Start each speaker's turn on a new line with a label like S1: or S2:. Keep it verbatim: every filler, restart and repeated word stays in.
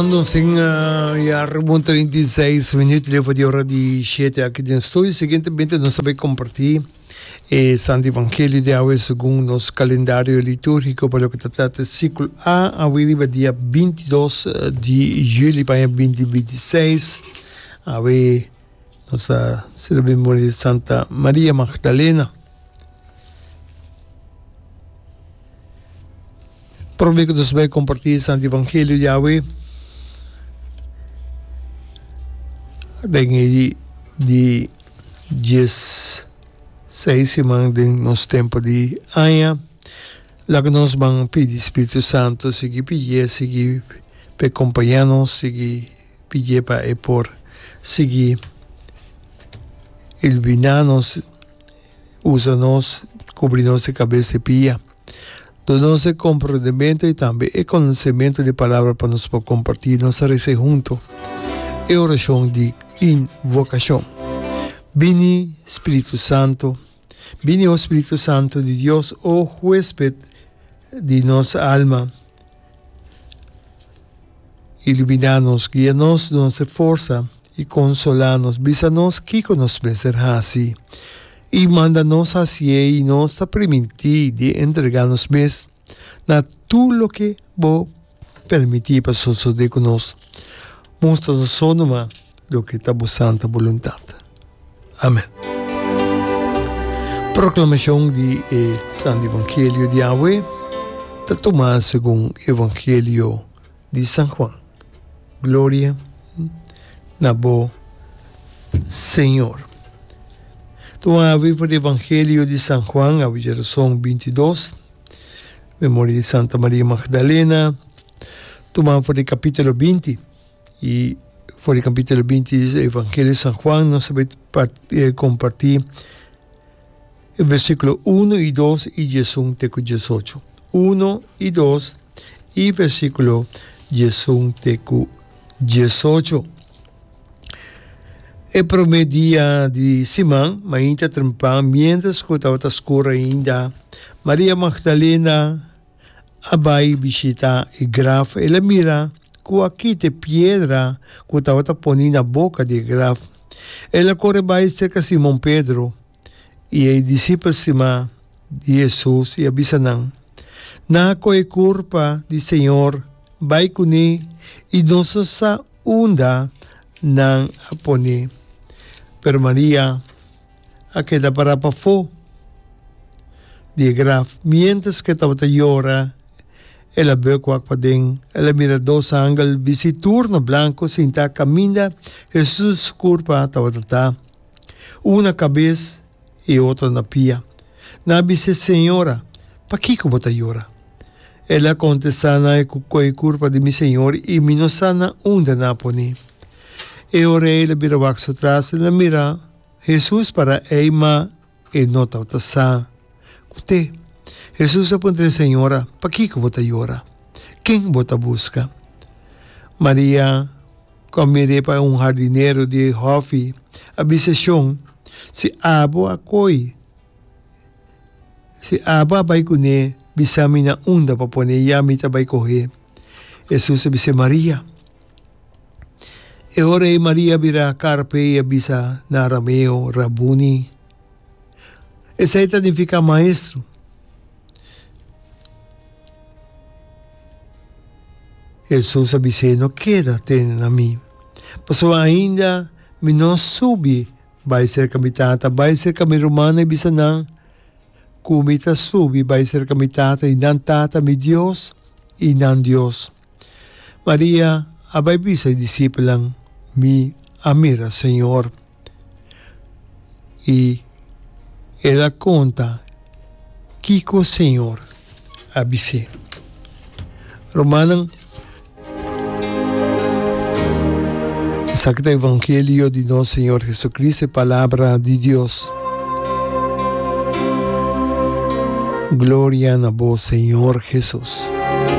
S1: Nos tin ya rond trinta i seis minuut leu di ora di shete aki den studio. Siguientemente nos ta bay comparti e Santo Evangelio di awe segun nos calendario liturgico pa loke ta trata ciclo A awe riba dia binti dos di juli pa aña binti binti seis. Awe nos ta celebra memoria di Santa Maria Magdalena. Prome ku nos bai kompartí e Santo Evangelio di awe, den e di dies seis siman den nos tempu di aña, laga nos ban pidi Spiritu Santo sigui pidié, sigui pa e kompañá nos, sigui pidié pa e por sigui iluminá nos, usa nos, kubri nos di kabes te pia. Duna nos e komprendementu i tambe e konosementu di Palabra pa nos por kompartí. Nos ta resa huntu e orashon di invokashon. Bini, Spiritu Santu. Bini, o Spiritu Santu di Dios, o huesped di nos alma. Iluminá nos, guia nos, duna nos e forsa i konsolá nos. Bisa nos kiko nos mester hasi i manda nos hasié i nos ta primintí di entregá nos mes na tur loke bo permití pa sosodé ku nos. Mustra nos so numa loke ta bo santa boluntat. Amen. Proklamashon di e Santo Evangelio di awe ta tumá segun Evangelio di San Juan. Gloria na bo, Señor. Tuma awe for di Evangelio di San Juan, awe djerason binti dos, memoria di Santa Maria Magdalena, tuma for di capítulo binti. I for di capítulo binti di Evangelio di San Juan nos ta bai comparti e versículo uno i dos i diesun te ku diesocho. Uno i dos i versículo diesun te ku diesocho. E promé dia di siman, mainta trempan, miéntras ku tabata skur ainda, Maria Magdalena a bai bishitá e graf, el a mira ku a kita e piedra ku tabata poní na boka di e graf. El a kore bai serka Simon Pedro i e disipel stimá di Hesus i a bisa nan, Nan a kohe kurpa di Señor bai kuné i nos no sa unda nan a pon'é. Pero Maria a keda pará pafó di e graf. Miéntras ku e tabata yora, el a bek wak paden. El a mira dos angel bisti tur na blanku sintá kaminda Hesus su kurpa tabata ta, un na kabes i e otro na pia. Nan a bis'é, Señora, pakiko bo ta yora? El a kontestá nan, E ku kohe kurpa di mi Señor i mi no sa na unda nan a pon'é. E ora el a bira wak su tras, el a mira Hesus para ei, ma e no tabata sa ku t'e. Hesus a puntra e señora, Pakiko bo ta yora? Ken bo ta buska? Maria, ku a mir'é pa un hardinero di e hòfi, a bisa Shon, Si abo a koi, si abo a bai kuné, bisa mi na unda pa pon'é, ya mi ta bai koh'é. Hesus a bis'é, Maria. E ora ei Maria a bira karpe i a bisa na arameo, Rabuni. Esei ta nifiká Maestro. Hesus a bis'é, No keda tene na mi, pasobra ainda mi no a subi bai serka mi Tata. Bai serka mi rumannan i bisa nan ku mi ta subi bai serka mi Tata i nan Tata, mi Dios i nan Dios. Maria a bai bisa e disipelnan, Mi a mira Señor. I el a konta kiko Señor a bis'é. Rumannan, esaki ta evangelio di nos Señor Jesucristo, e palabra di Dios. Gloria na bo, Señor Jesus.